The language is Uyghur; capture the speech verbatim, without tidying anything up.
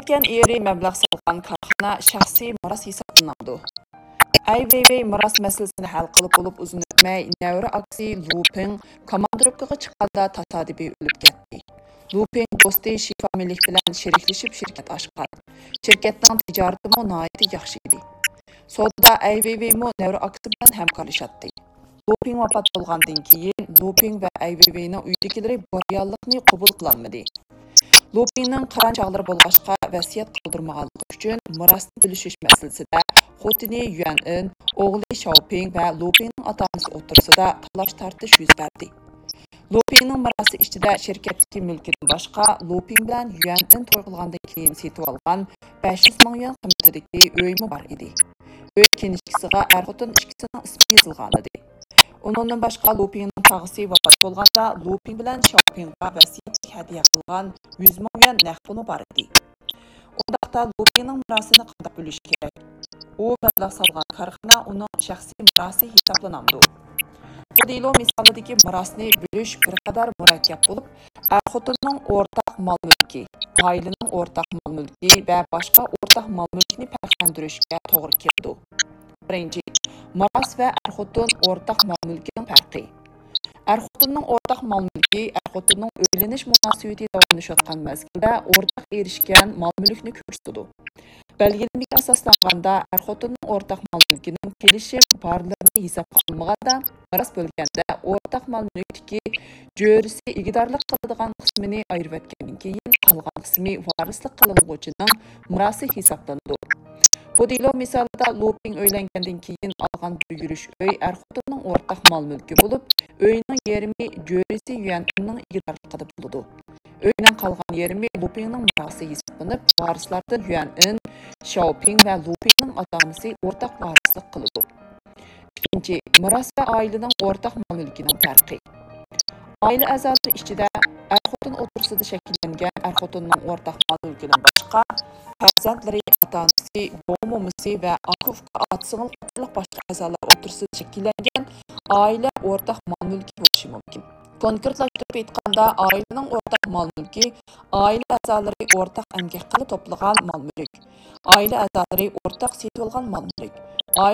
كەتكەن ئېرى مەبلەغ سالغان كارخانا شەخسىي مىراس ھېسابلىنامدۇ؟ ئەي ۋېيۋېي مىراس مەسىلىسىنى ھەل قىلىپ بولۇپ ئۇزۇن ئۆتمەي، نەۋرە ئاكىسى لۇ پىڭ كوماندىروپكىغا چىققاندا تاسادىپىي ئۆلۈپ كەتتى. لۇ پىڭ دوستى شى فامىلىك بىلەن شېرىكلىشىپ شىركەت ئاچقان. شىركەتنىڭ تىجارىتىمۇ ناھايىتى ياخشى ئىدى. سودىدا ئەي ۋېيۋېيمۇ نەۋرە ئاكىسى بىلەن ھەمكارلىشاتتى. لۇ پىڭ ۋاپات بولغاندىن كېيىن، لۇ پىڭ ۋە ئەي ۋېيۋېينىڭ ئۆيدىكىلىرى بۇ رېئاللىقنى قوبۇل قىلالمىدى. لۇ پىڭنىڭ قىران چاغلىرى بولغاچقا ۋەسىيەت قالدۇرمىغانلىقى ئۈچۈن، مىراسنى بۆلۈشۈش مەسىلىسىدە خوتۇنى يۈەن ئىن، ئوغلى شياۋ پىڭ ۋە لۇ پىڭنىڭ ئاتا-ئانىسى ئوتتۇرىسىدا تالاش-تارتىش يۈز بەردى. لۇ پىڭنىڭ مىراسى ئىچىدە شىركەتتىكى مۈلكىدىن باشقا، لۇ پىڭ بىلەن يۈەن ئىن توي قىلغاندىن كېيىن سېتىۋالغان بەش يۈز مىڭ يۈەن قىممىتىدىكى ئۆيمۇ بار ئىدى. ئۆي كىنىشكىسىغا ئەر-خوتۇن ئىككىسىنىڭ ئىسمى يېزىلغانىدى. ئۇنىڭدىن باشقا، لۇ پىڭنىڭ تاغىسى ۋاپات بولغاندا، لۇ پىڭ بىلەن شياۋ پىڭغا ۋەسىيەتلىك ھەدىيە قىلغان يۈز مىڭ يۈەن نەق پۇلمۇ بار ئىدى. ئۇنداقتا لۇ پىڭنىڭ مىراسىنى قانداق بۆلۈش كېرەك؟ ئۇ مەبلەغ سالغان كارخانا ئۇنىڭ شەخسىي مىراسى ھېسابلىنامدۇ؟ بۇ دېلو مىسالىدىكى مىراسنى بۆلۈش بىر قەدەر مۇرەككەپ بولۇپ، ئەر-خوتۇننىڭ ئورتاق مال-مۈلكى، ئائىلىنىڭ ئورتاق مال-مۈلكى ۋە باشقا ئورتاق مال-مۈلكنى پەرقلەندۈرۈشكە توغرا كېلىدۇ. بىرىنچى، مىراس ۋە ئەر-خوتۇن ئورتاق مال-مۈلكىنىڭ پەرقى. ئەر-خوتۇننىڭ ئورتاق مال-مۈلكى ئەر-خوتۇننىڭ ئۆيلىنىش مۇناسىۋىتى داۋاملىشىۋاتقان مەزگىلدە ئورتاق ئېرىشكەن مال-مۈلۈكنى كۆرسىتىدۇ. بەلگىلىمىگە ئاساسلانغاندا، ئەر-خوتۇننىڭ ئورتاق مال-مۈلكىنىڭ كېلىشىم بارلىرىنى ھېسابقا ئالمىغاندا، مىراس بۆلگەندە ئورتاق مال-مۈلۈكتىكى جۆرىسى ئىگىدارلىق قىلىدىغان قىسمىنى ئايرىۋەتكەندىن كېيىن، قالغان قىسمى ۋارىسلىق قىلىنغۇچىنىڭ مىراسى ھېسابلىنىدۇ. بۇ دېلو مىسالىدا لۇ پىڭ ئۆيلەنگەندىن كېيىن ئالغان بىر يۈرۈش ئۆي ئەر-خوتۇننىڭ ئورتاق مال-مۈلكى بولۇپ، ئۆينىڭ يېرىمى جۆرىسى يۈەن ئىننىڭ ئىگىدارلىقىدا بولىدۇ. ئۆينىڭ قالغان يېرىمى لۇ پىڭنىڭ مىراسى ھېسابلىنىپ، ۋارىسلاردىن يۈەن ئىن، شياۋ پىڭ ۋە لۇ پىڭنىڭ ئاتا-ئانىسى ئورتاق ۋارىسلىق قىلىدۇ. ئىككىنچى، مىراس ۋە ئائىلىنىڭ ئورتاق مال-مۈلكىنىڭ پەرقى. ئائىلە ئەزالىرى ئىچىدە ئەر-خوتۇن ئوتتۇرىسىدا شەكىللەنگەن ئەر-خوتۇننىڭ ئورتاق مال-مۈلكىدىن باشقا، پەرزەنتلىرى، ئاتا-ئانىسى، بوۋا-مومىسى ۋە ئاكا-ئۇكا، ئاتا-سىڭىل قاتارلىق باشقا ئەزالار ئوتتۇرىسىدا شەكىللەنگەن ئائىلە ئورتاق مال-مۈلكى بولۇشى مۇمكىن. كونكرېتلاشتۇرۇپ ئېيتقاندا، ئائىلىنىڭ ئورتاق مال-مۈلكى ئائىلە ئەزالىرى ئورتاق ئەمگەك قىلىپ توپلىغان مال-مۈلۈك، ئائىلە ئەزالىرى ئورتاق سېتىۋالغان مال-مۈلۈك،